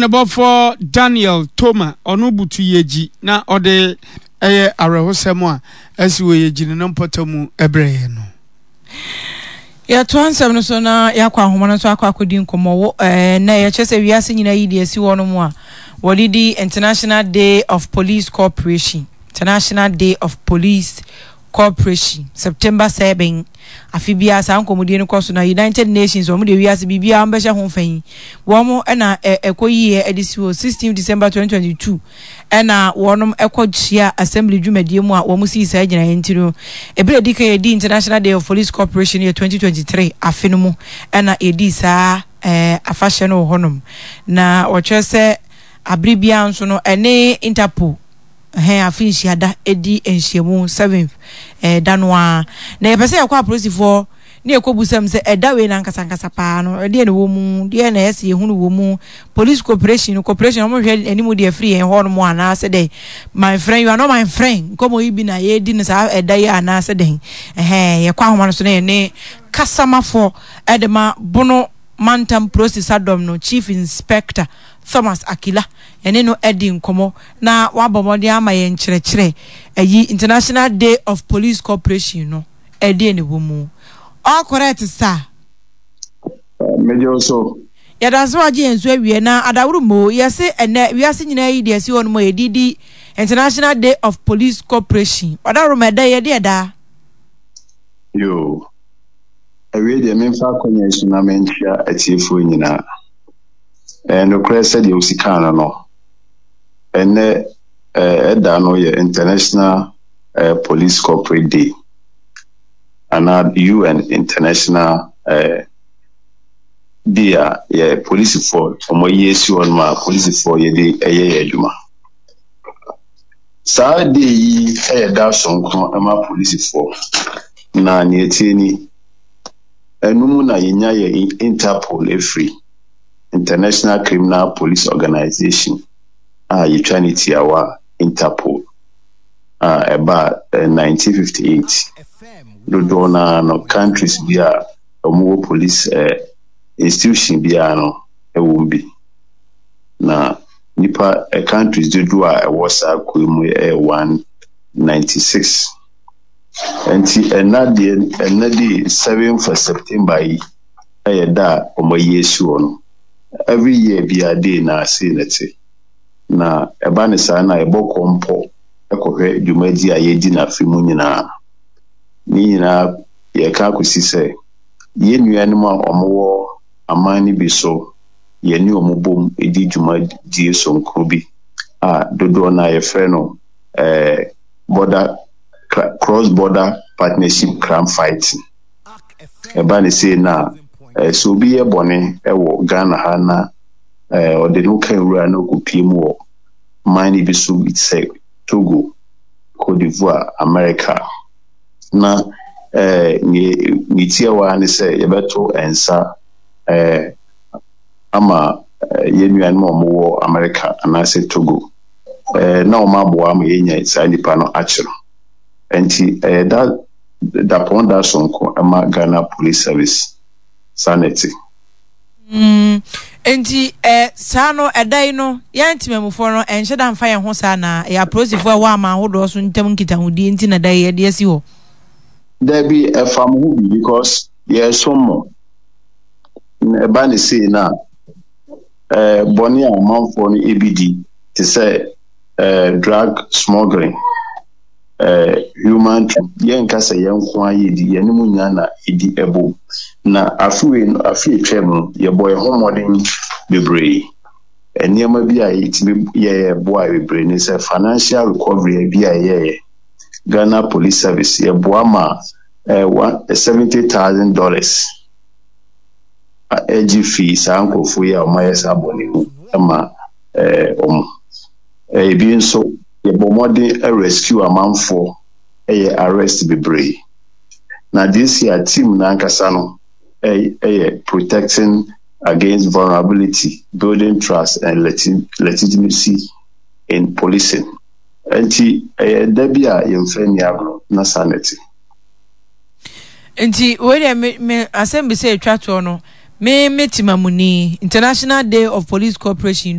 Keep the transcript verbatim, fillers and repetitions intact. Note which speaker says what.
Speaker 1: Amanebɔfoɔ Daniel Toma, ɔno butu Yegyi na ɔde ɛyɛ awerɛhosɛm a asi wɔ Yegyi ne ne mpɔtam brɛɛ yɛn no.
Speaker 2: Yɛtoa nsɛm no so na yɛakɔ ahoma no so akɔ akɔdi nkɔmmɔ wɔ ɛɛ na yɛkyerɛ sɛ wiase nyinaa yi deɛ asi hɔ no mu a wɔde di International Day of Police Cooperation, International Day of Police Cooperation, September seven. Afe biara saa nkɔmmɔdie no kɔ so na United Nations, wɔn de wiase biribiara wɔn bɛhyɛ ho fa yi, wɔn ɛna ɛkɔ yie ɛde si hɔ sixteen December twenty twenty-two, ɛna wɔn ɛkɔ hyia assembly dwumadie mu a wɔn sii saa gyinaeɛ. Nti no ebere edi kan yɛdi International Day of Police Cooperation yɛ twenty twenty-three afe no mu, ɛna yɛdi saa ɛɛ afahyɛ no wɔ hɔnom. Na wɔkyerɛ sɛ abere biara nso no, ɛne Interpol ɛhɛn afe nhyiada edi nhyiamu seventh ɛɛ da no ara. Na yɛpɛ sɛ yɛkɔ apolisifoɔ ne yɛkɔ busam sɛ ɛda wei na nkasa nkasa paa no, ɛdeɛ na ɛwɔ mu, deɛ na ɛsɛ yɛhunu wɔ mu. Police cooperation no, cooperation wɔn hwɛ anim deɛ firi yɛn hɔ nom anaasɛ dɛ "My friend, you are not my friend" nkɔmɔ yi bi na yɛredi no saa ɛda yi anaasɛ dɛn. Ɛhɛn, yɛkɔ ahoma no so na yɛne kasamafoɔ ɛde ma Bono Mantam Polisi Sadɔm no, Chief Inspector Thomas Akila, yɛne no adi nkɔmɔ na wabɔ mmɔden ama yɛn nkyerɛkyerɛ ɛyi International Day of Police Cooperation no, ɛdeɛ ne wɔ mu. All correct, sir.
Speaker 3: Megye so.
Speaker 2: Yɛda so agye yɛn so awie na adaworo mo yɛse ɛnɛ wiase nyinaa yi deɛ ɛsi hɔ no mu a yɛdidi International Day of Police Cooperation. Ɔdaworo ma ɛda yɛde ɛda.
Speaker 3: Yo, awie deɛ, memfa akɔnya yi so na menkyia atiefoɔ nyinaa. Ɛyɛ nokorɛ sɛdeɛ wosi kaa no no ɛnɛ ɛda no yɛ International uh, Police Corporate Day anaa U N International uh, Day a yɛ polisifoɔ wɔn ayi asi hɔ nom a polisifoɔ yɛde ɛyɛ yɛ adwuma. Saa day yi yɛ da sononko ma polisifoɔ, na nea ɛtie ni, ɛno mu na yɛnya yɛ Interpol efiri, International Criminal Police Organization a yɛtwa ne tiawa Interpol, a ɛbaa nineteen fifty-eight. Dodoɔ naa no, countries bi a wɔwɔ police eh, institution biara no ɛwɔ mu bi, na nipa eh, countries dodoɔ a ɛwɔ saa kuo mu yɛ one ninety-six. Nti ɛna deɛ, ɛna de seven for September yi ɛyɛ da a wɔn ayi asi hɔ no. Every year biara day na ase na te na ɛba ne saa na yɛbɔ kɔmpɔ ɛkɔhwɛ dwumadie a yɛdi n'afe mu nyinaa. Ne nyinaa yɛka akɔsi sɛ yɛn nuanom a wɔwɔ aman no bi so, yɛne wɔn bom di dwumadie sononko bi a dodoɔ no a yɛfrɛ no ɛɛ border cross border partnership crime fighting. Ɛba ne sei na ɛɛ sɛ obi yɛ bɔne ɛwɔ Ghana ha na ɛɛ ɔde no ka nwura na ɔkɔpie mu wɔ man no bi so bi te sɛ Togo, Cote d'Ivoire, America, na ɛɛ ne ne tiawa ne sɛ yɛbɛto nsa ɛɛ ama yɛn nuanom a wɔwɔ America anaasɛ Togo ɛɛ na wɔn aboa ama yɛnya saa nipa no akyerɛ. Nti ɛyɛ da dapɔn da sononko ɛma Ghana Police Service. Saa na ɛte.
Speaker 2: Mm, nti ɛ saa no, ɛda yi no, yɛn temamufoɔ no ɛnhyɛ da mfa yɛn ho saa na ɛyɛ apolisifoɔ a ɛwɔ aman ahodoɔ so ntam nkitahodie nti na da yi yɛde asi hɔ?
Speaker 3: Dabi, ɛfa mo ho bi because yɛsom mo. Na ɛba ne sei na ɛɛ bɔne a amanfoɔ no ebi di te sɛ ɛɛ drug smuggling, ɛɛ human trafficking, yɛnka sɛ yɛn nko ara yɛdi, yɛne mu nyinaa na ɛdi ɛbom. Na afe wei no, afe atwa mu no, yɛbɔ yɛn ho mmɔden bebree. Nneɛma bi a yɛtumi yɛyɛ boa bebree ne sɛ financial recovery bi a yɛyɛyɛ, Ghana Police Service yɛboa ma ɛɛ one seventy thousand dollars ɛgye fii saa nkurɔfoɔ yi a wɔayɛ saa bɔne mu ma ɛɛ wɔn. Ebi nso, yɛbɔ mmɔden rescue amanfoɔ, ɛyɛ arrest bebree. Na this year team n'ankasa no ɛyɛ "Protecting against vulnerability, building trust and legitimacy in policing". Nti ɛyɛ da bi a yɛmfa nni agorɔ na saa na ɛte.
Speaker 2: Nti wei deɛ, me me asɛm bi sɛ etwa toɔ no, me me temamuni, International Day of Police Cooperation.